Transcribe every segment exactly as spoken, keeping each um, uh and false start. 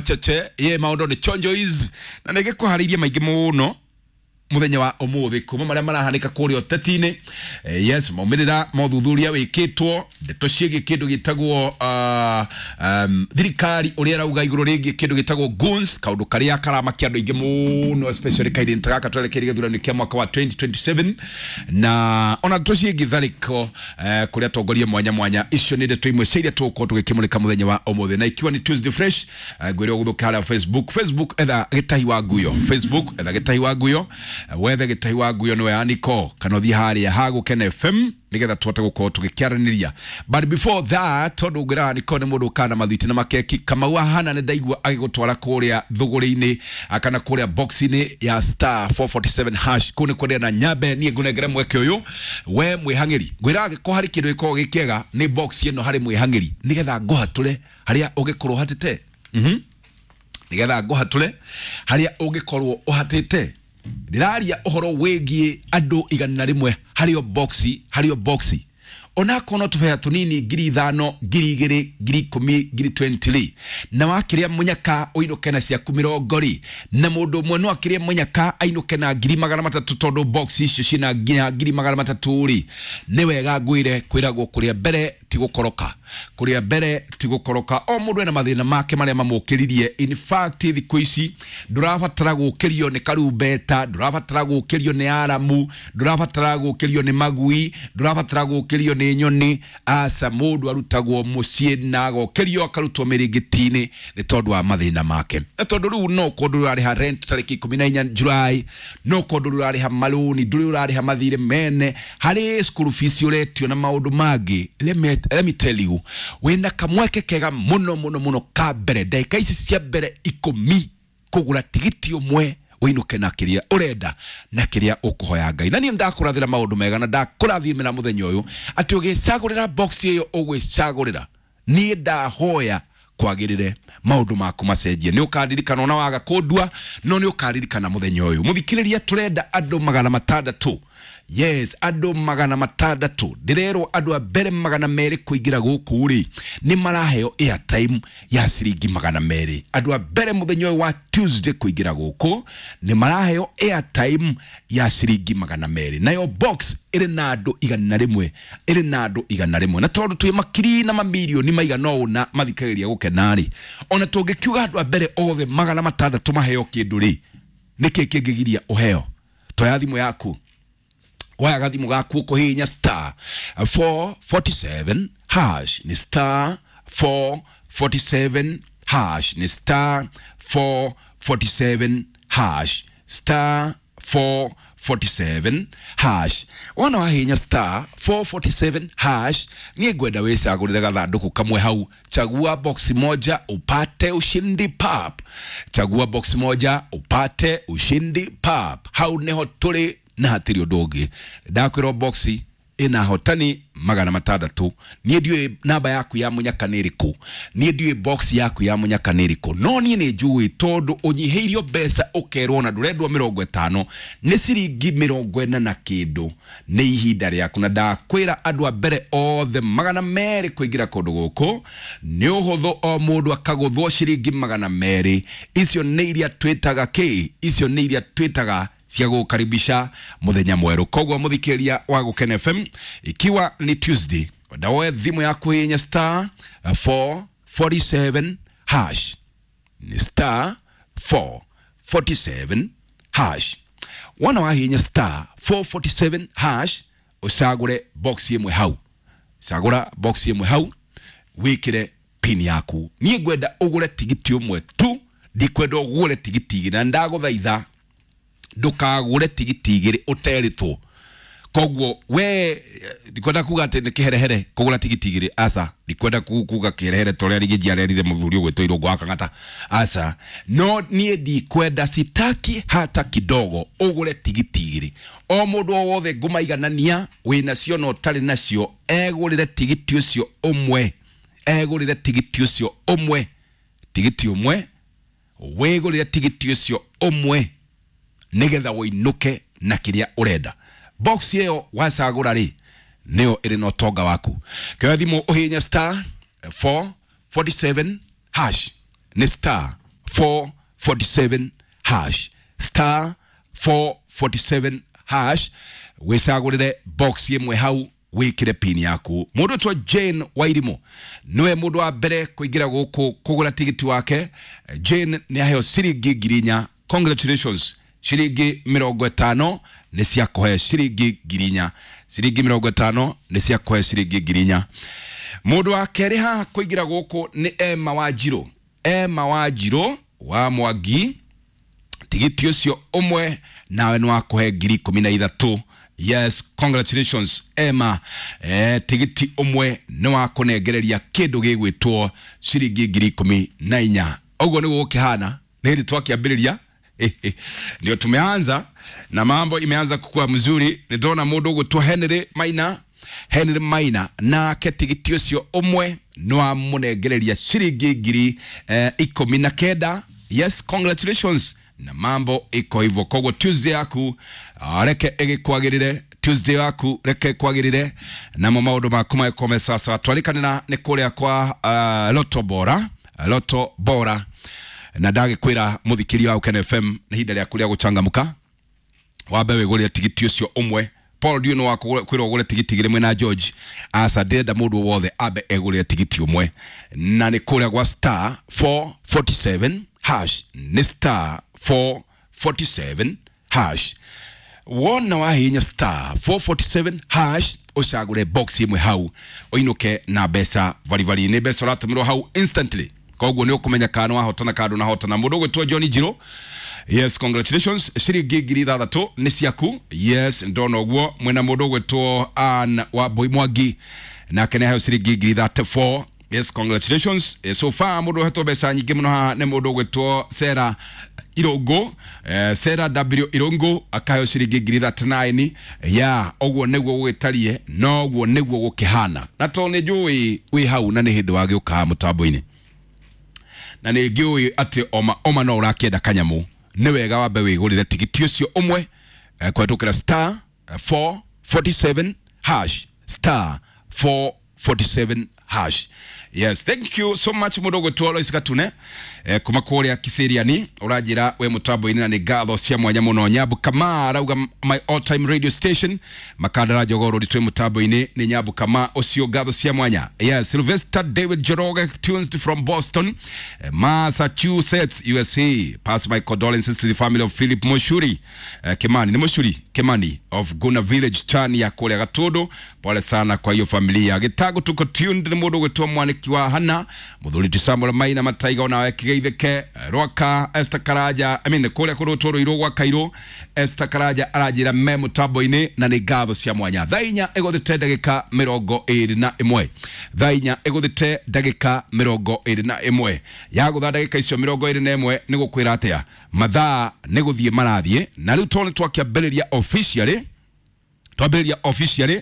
Gacheche ye maũndũ nĩ chonjois na nĩ gĩkũharĩirie maingĩ mũno muthenya wa umuthi kuma maria marahanika kuria uteti-inĩ. Eh, yes, maumĩrĩra ma ũthuthuria wĩkĩtwo, ndeto ciĩgiĩ kĩndũ gĩtagwo uh, um, thirikari ũrĩa ĩrauga igũrũ rĩgiĩ kĩndũ gĩtagwo goons, kaũndũ karĩa karamakia andũ aingĩ mũno, especially kairĩtu ta gaka twerekeire gĩthurano kĩa mwaka wa twenty twenty-seven, na ona ndeto ciĩgiĩ tharĩko eh, kũrĩa atongoria mwanya mwanya. Icio nĩ ndeto imwe cia iria tũgũkorwo tũgĩkĩmũrĩka mũthenya wa ũmũthĩ, na ikiwa nĩ Tuesday Fresh, eh, ngwĩre ũgũthũke harĩa Facebook. Facebook etha Gĩtahi wa Nguyo, Facebook etha Gĩtahi wa Nguyo, wethe Gĩtahi wa Nguyo nĩwe Aniko, kana ũthiĩ harĩa ha Gũkena F M nĩgetha tũhote gũkorwo tũgĩkĩaranĩria. But before that, tondũ ngwĩraga Aniko nĩ mũndũ ũkaga na mathwiti na makeki, Kamau ahana nĩ ndaigua agĩgũtwara kũrĩa thũgũrĩ-inĩ kana kũrĩa box-inĩ ya star four forty-seven hash kũu nĩ kwendea na nyambe niĩ ngũnengere mweke ũyũ we mwĩhang'ĩri. Ngwĩraga gĩkorwo harĩ kĩndũ gĩkoragwo gĩ kĩega nĩ box ĩno harĩ mwĩhang'ĩri, nĩgetha ngũhatũre harĩa ũngĩkorwo ũhatĩte. Mhm. Nĩgetha ngũhatũre harĩa ũngĩkorwo ũhatĩte. Ndĩraria ũhoro wĩgiĩ andũ igana rĩmwe harĩ o box, harĩ o box. Onakorwo no tũbeca tũnini ngiri ithano, ngiri igĩrĩ, ngiri ikũmi, ngiri twenty rĩ, na wakĩrĩa mũnyaka ũinũke na ciaku mĩrongo rĩ, na mũndũ ũmwe no akĩrĩe mũnyaka ainũke na ngiri magana matatũ, tondũ box icio ciĩna nginya ngiri magana matatũ rĩ, nĩ wega ngwĩre kwĩragwo kũrĩa mbere ti gũkoroka, kũrĩa mbere ti gũkoroka. O mũndũ ena mathĩna make marĩa mamũkĩririe. In fact, thikũ ici ndũrabatara gũkĩrio nĩ karumbeta, ndũrabatara gũkĩrio nĩ aramu, ndũrabatara gũkĩrio nĩ magui, ndũrabatara gũkĩrio nĩ nyoni. Aca, mũndũ arutagwo mũciĩ na agokĩrio akarutwo mĩrĩngĩti-inĩ nĩ tondũ wa mathĩna make. Na tondũ rĩu no kũndũ ũrarĩha rent tarĩki ikũmi na inya July, no kũndũ ũrarĩha marũni, ndũrĩ ũrarĩha mathirĩ mene, harĩ school fees ũretio na maũndũ mangĩ. Let me, let me tell you, wĩna kamweke kega mũno mũno mũno ka mbere ndagĩka ici cia mbere ikũmi kũgũra tigiti ũmwe ũinũke na kĩrĩa ũrenda na kĩrĩa ũkũhoya Ngai. Na niĩ ndakũrathĩra maũndũ mega na ndakũrathimĩra mũthenya ũyũ atĩ ũgĩcagũrĩra box ĩyo ũgwĩcagũrĩra, niĩ ndahoya kwagĩrĩre maũndũ maku macenjie. Nĩ ũkaririkana ona waga kũndua, no nĩ ũkaririkana mũthenya ũyũ. Mũthikĩrĩria, tũrenda andũ magana matandatũ. Yes, andũ magana matandatũ. Ndĩrerwo andũ a mbere magana merĩ kũingĩra gũkũ rĩ, nĩ maraheo airtime ya ciringi magana merĩ. Andũ a mbere mũthenya ũyũ wa Tuesday kũingĩra gũkũ nĩ maraheo airtime ya ciringi magana merĩ. Nayo box ĩrĩ na andũ igana rĩmwe, ĩrĩ na andũ igana rĩmwe. Na tondũ twĩ makiri na mamirioni maigana ũna mathikagĩrĩria Gũkena rĩ, ona tũngĩkiuga andũ a mbere othe magana matandatũ maheo kĩndũ rĩ, nĩkĩ kĩngĩgiria ũheo? Toya thimũ yaku, waya gathimũ gaku ũkũhihinya star four forty-seven hash, nĩ star four forty-seven hash, nĩ star four forty-seven hash, star four forty-seven hash. Wona wahihinya star four forty-seven hash, niĩ ngwenda wĩcagũrĩre gathandũkũ kamwe hau. Chagua box moja upate ushindi pap, chagua box moja upate ushindi pap. Hau nĩho tũrĩ na hatirĩ ũndũ ũngĩ. Ndakwĩrwo box ĩna hotani magana matandatũ. Niĩ ndiũĩ namba yaku ya mũnyaka nĩ ĩrĩkũ, niĩ ndiũĩ box yaku ya mũnyaka nĩ ĩrĩkũ, no niĩ nĩ njũĩ tondũ ũnyihĩirio mbeca ũkerwo na ndũrendwo mĩrongo ĩtano nĩ ciringi mĩrongo ĩna na kĩndũ, nĩ ihinda rĩaku. Na ndakwĩra andũ a mbere othe magana merĩ kũingĩra kũndũ gũkũ nĩ ũhũthũ, o mũndũ akagũthwo ciringi magana merĩ. Icio nĩ iria twĩtaga kĩ? Icio nĩ iria twĩtaga cia gũkaribisha mũthenya mwerũ. Koguo mũthikĩria wa Gũkena F M, ikiwa ni Tuesday, ndawoe thimũ yaku hihinya star four forty-seven hash, ni star four forty-seven hash. Wona wahihinya star four forty-seven hash, ũcagũre box ĩmwe hau, cagũra box ĩmwe hau, wĩkĩre pin yaku. Niĩ ngwenda ũgũre tigiti ũmwe tu, ndikwenda ũgũre tigiti igĩrĩ, na ndagũthaitha ndũkagũre tigiti igĩrĩ ũterĩtwo. Koguo we ndikwenda kuga atĩ nĩ kĩherehere kũgũra tigiti igĩrĩ, aca, ndikwenda kuga kĩherehere ta ũrĩa Rigiji arerire mũthuri ũgwĩtwo Irũngũ wa Kang'ata, aca, no niĩ ndikwenda, sitaki hata kidogo ũgũre tigiti igĩrĩ. O mũndũ o wothe ngũmaiganania wĩnacio na ũtarĩ nacio egũrĩre tigiti ũcio ũmwe, egũrĩre tigiti ũcio ũmwe, tigiti ũmwe, wĩgũrĩre tigiti ũcio ũmwe nĩgetha ũinũke na kĩrĩa ũrenda. Box ĩyo wacagũra rĩ, nĩyo ĩrĩ na ũtonga waku. Kĩoya thimũ ũhihinye star four forty-seven hash, nĩ star four forty-seven hash, star four forty-seven hash, wicagurire box imwe hau wikire pin yaku. Mundu twa Jane Wairimu niwe mundu wa mbere kuingira guku kugura tigiti wake. Jane ni aheo ciringi ngiri inya. Congratulations, ciringi mirongo itano ni cia kuhe ciringi ngiri inya, ciringi mirongo itano ni cia kuhe ciringi ngiri inya. Mundu wa keri haha kuingira guku ni Emma Wanjiru, Emma Wanjiru wa Mwangi, tigiti ucio umwe nawe ni wa kuhe ngiri ikumi na ithatu. Yes, congratulations Emma. Eh, tigiti umwe ni wa kunengereria kindu gigwitwo ciringi ngiri ikumi na inya. Uguo niguo gukihana, ni hindi twakiambiriria ndio tumeanza na mambo imeanza kukua mzuri. Nindona mundu ugwitwo Henry Maina, Henry Maina nake tigiti ucio umwe ni wa munengereria ciringi ngiri eh, ikumi na kenda. Yes, congratulations, na mambo iko hivyo. Koguo Tuesday yaku reke igikwagirire, Tuesday yaku reke kwagirire, namo maundu maku magĩkome sasa. Twarikanira ni kuria kwa uh, Lotto Bora, Lotto Bora, na ndagikwira muthikiria wa Ukene F M ni ihinda rĩaku rĩa gũcangamũka, wambe wĩgũrĩre tigiti ũcio ũmwe. Paul ndio no wakwĩrwo ũgũre tigiti igĩrĩ mwena George, aca ndĩrenda mũndũ wothe ambe egũrĩre tigiti ũmwe, na nĩ kũrĩa gwa star four forty-seven hash, ni star four forty-seven hash. Wona wahinya star four forty-seven hash ucagure box imwe hau uinuke na mbeca varibari. Ni mbeca uratumirwo hau instantly, koguo ni ukumenya kana wahotana kana ndunahotana. Mundu ugwitwo John Njiro, yes, congratulations, ciringi ngiri ithathatu ni ciaku. Yes, ndona uguo mwena mundu ugwitwo Ann wa Mbui Mwangi nake ni aheo ciringi ngiri thirty-four. Yes, congratulations. So far mundu uhetwo mbeca nyingĩ muno haha ni mundu ugwitwo Sarah Irungu, eh, Sarah W Irungu akaheo ciringi ngiri thirty-nine. Ya uguo niguo gugitarie, noguo niguo gukihana, na to ni njui wi hau na ni hindi wagiuka mutambo-ini, na ni ngiui ati oma oma no urakienda kanyamu, ni wega wambe wigurire tigiti ucio umwe eh, kwetukira star four forty-seven hash, star four forty-seven hash. Yes, thank you so much mundu gwitwo Lois Gatune eh, kuma kuria Kiseriani uranjira we mutambo-ini, na ni ngatho cia mwanya muno. Nyambu Kama arauga my all time radio station, Makandara Jogoro ritwe mutambo-ini ni Nyambu Kama ucio, ngatho cia mwanya. Yes, Sylvester David Joroge tunes from Boston, eh, Massachusetts, U S A. Pass my condolences to the family of Philip Moshuri eh, Kimani, ni Moshuri Kimani of Guna Village chani ya kuria Gatudu. Pole sana kwa hiyo familia. Gitago tuko tuned ni mundu gwitwo Mwaniki wa Hana, muthuri ti Samuel Maina Mataiga onawe kigeitheke Rwaka Esther Karaja, I mean kuria kurutwo irwo gwa Kairo, Esther Karaja aranjira me mutambo-ini, na ni ngatho cia mwanya. Thaa inya iguthite ndagika mirongo iri na imwe, thaa inya iguthite ndagika mirongo iri na imwe, yagutha ndagika icio mirongo iri na imwe ni gukwira atia mathaa ni guthie marathie, na riu to ni twakiambiriria officially, twambĩrĩria officially.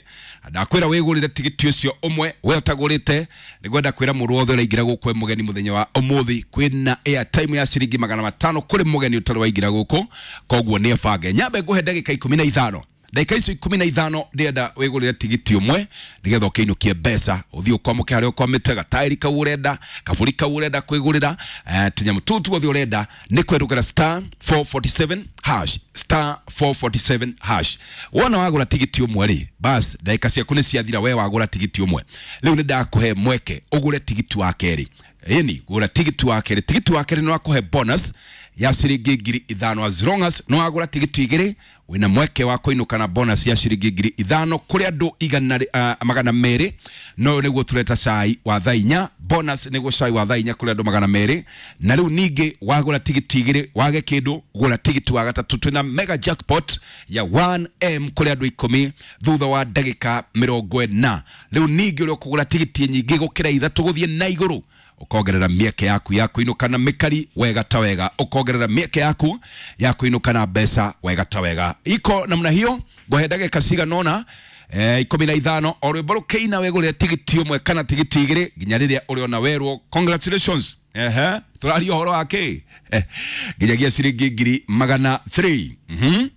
Ndakwĩra wĩgũrĩre tigiti ũcio ũmwe, we ũtagũrĩte nĩngwenda kwĩra mũndũ wothe ũraingĩra gũkũ mũgeni mũthenya wa ũmũthĩ, kwĩna airtime ya ciringi magana matano kũrĩ mũgeni ũtarĩ waingĩra gũkũ, koguo nĩ abange. Nyambe ngũhe ndagĩka ikũmi na ithano, ndagĩka icio ikũmi na ithano ndĩrenda wĩgũrĩre tigiti ũmwe nĩgetha ũkĩinũkie mbeca, ũthiĩ ũkwamũke harĩa ũkwamĩte, gataĩri kau ũrenda, kabũri kau ũrenda kwĩgũrĩra, eh, tũnyamũ tũu tuothe ũrenda, nĩ kwerũkĩra star four forty-seven hash, star four forty-seven hash. Wona wagũra tigiti ũmwe rĩ, bas ndagĩka ciaku nĩ ciathira, we wagũra tigiti ũmwe. Rĩu nĩ ndakũhe mweke ũgũre tigiti wa kerĩ. Ĩni gũra tigiti wa kerĩ, tigiti wa kerĩ nĩ wakũhe bonus ya ciringi ngiri ithano, as long as no wagũra tigiti igĩrĩ wĩna mweke wa kũinũka na bonus ya ciringi ngiri ithano kũrĩ andũ igana uh, magana merĩ. No nĩguo tũreta cai wa thaa inya, bonus nĩguo cai wa thaa inya kũrĩ andũ magana merĩ. Na rĩu ningĩ wagũra tigiti igĩrĩ wage kĩndũ, gũra tigiti wa gatatũ, twĩna mega jackpot ya one M kũrĩ andũ ikũmi thutha wa ndagĩka mĩrongo ĩna. Rĩu ningĩ ũrĩa ũkũgũra tigiti nyingĩ gũkĩra ithatũ gũthiĩ na igũrũ, ukongerera mieke yaku ya kuinuka na mikari wega ta wega, ukongerera mieke yaku ya kuinuka na mbeca wega ta wega. Iko namna hiyo ngohe ndagĩka cigana ũna eh, ikũmi na ithano o rwĩmbo rũkĩina wĩgũrĩre tigiti ũmwe kana tigiti igĩrĩ nginya rĩrĩa ũrĩona werwo congratulations. Ehe, tũraria ũhoro wa kĩ? Eh, nginyagia ciringi ngiri magana three. Mhm,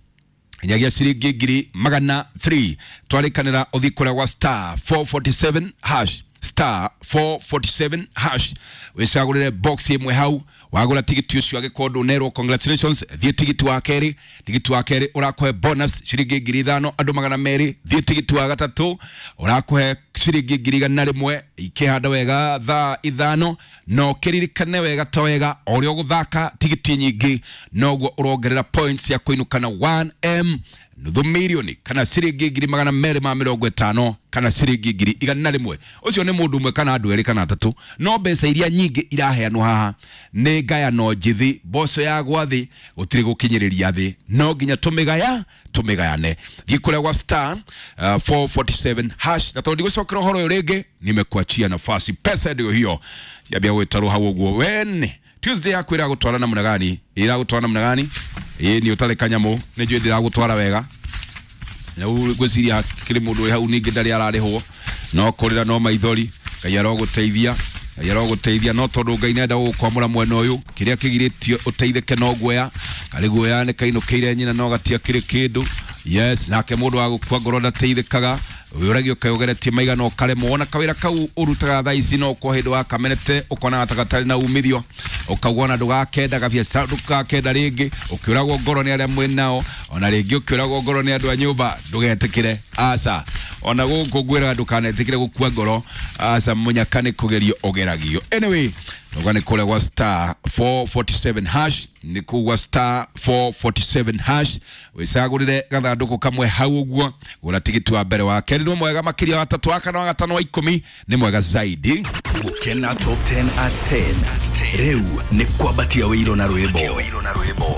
nginyagia ciringi ngiri magana three. Twarĩkanĩra ũthiĩ kũrĩa gwa star four forty-seven hash, star four forty-seven hash, wicagũrĩre box ĩmwe hau Wagũra tigiti ũcio, angĩkorwo ndũnerwo congratulations, thiĩ tigiti wa kerĩ. Tigiti wa kerĩ ũrakũhe bonus ciringi ngiri ithano andũ magana merĩ. Thiĩ tigiti wa gatatũ, ũrakũhe ciringi ngiri igana rĩmwe ikĩhanda wega thaa ithano. Na ũkĩririkane wega ta wega, o ũrĩa ũgũthaka tigiti nyingĩ, noguo ũrongerera points ya kũinũka na one M, nuthu milioni, kana ciringi ngiri magana merĩ ma mĩrongo ĩtano, kana ciringi ngiri igana rĩmwe. Ũcio nĩ mũndũ ũmwe kana andũ erĩ kana atatũ, no mbeca iria nyingĩ iraheanwo haha nĩ ngayano njĩthĩ. Mboco ya gwa thĩ gũtirĩ gũkinyĩrĩria thĩ, no nginya tũmĩgaya tũmĩgayane. Thiĩ kũrĩa gwa star uh, four forty-seven hash, na tondũ ndigũcokera ũhoro ũyũ rĩngĩ, nimekuachia nafasi. Pesa ndio hiyo, ciambia gwĩtarwo hau ũguo. Wen Tuesday yaku ĩragũtwara namna gani? Ĩragũtwara namna gani? Ĩĩ, nĩ ũtarĩ kanyamũ, nĩ njũĩ ndĩragũtwara wega. Na rĩu ngwĩciria kĩrĩ mũndũ wĩ hau ningĩ ndarĩ ararĩhwo, no kũrĩra no maithori. Ngai arogũteithia, Ngai arogũteithia. No tondũ Ngai nenda gũgũkwamũra mwena ũyũ, kĩrĩa kĩgirĩtio ũteithĩke no guoya. Karĩ guoya nĩ kainũkĩire nyina no gatiakĩrĩ kĩndũ. Yes, nake mũndũ wa gũkua ngoro ndateithĩkaga. Wĩũragio kaĩ ũgeretie maigana ũkaremwo, ona kawĩra kau ũrutaga thaa ici no kwa hĩndĩ wakamenete, ũkonaga ta gatarĩ na umithio, ũkauga ona ndũgakenda gabiacara, ndũgakenda rĩngĩ, ũkĩũragwo ngoro nĩ arĩa mwĩ nao, ona rĩngĩ ũkĩũragwo ngoro nĩ andũ a nyũmba. Ndũgetĩkĩre, aca. Ona gũkũ ngwĩraga ndũkanetĩkĩre gũkua ngoro, aca. Mũnyaka nĩ kũgerio ũgeragio. Anyway, tuga nĩ kũrĩa gwa star four forty-seven hash, nĩ kũu gwa star four forty-seven hash, wĩcagũrĩre gathandũkũ kamwe hau ũguo. Gũra tigiti wa mbere, wa kerĩ nĩ mwega makĩria, wa tatũ, wa kana, wa gatano, wa ikũmi nĩ mwega zaidi. Gukena Top ten at ten. Rĩu nĩ kwambatia wĩiro na rwĩmbo.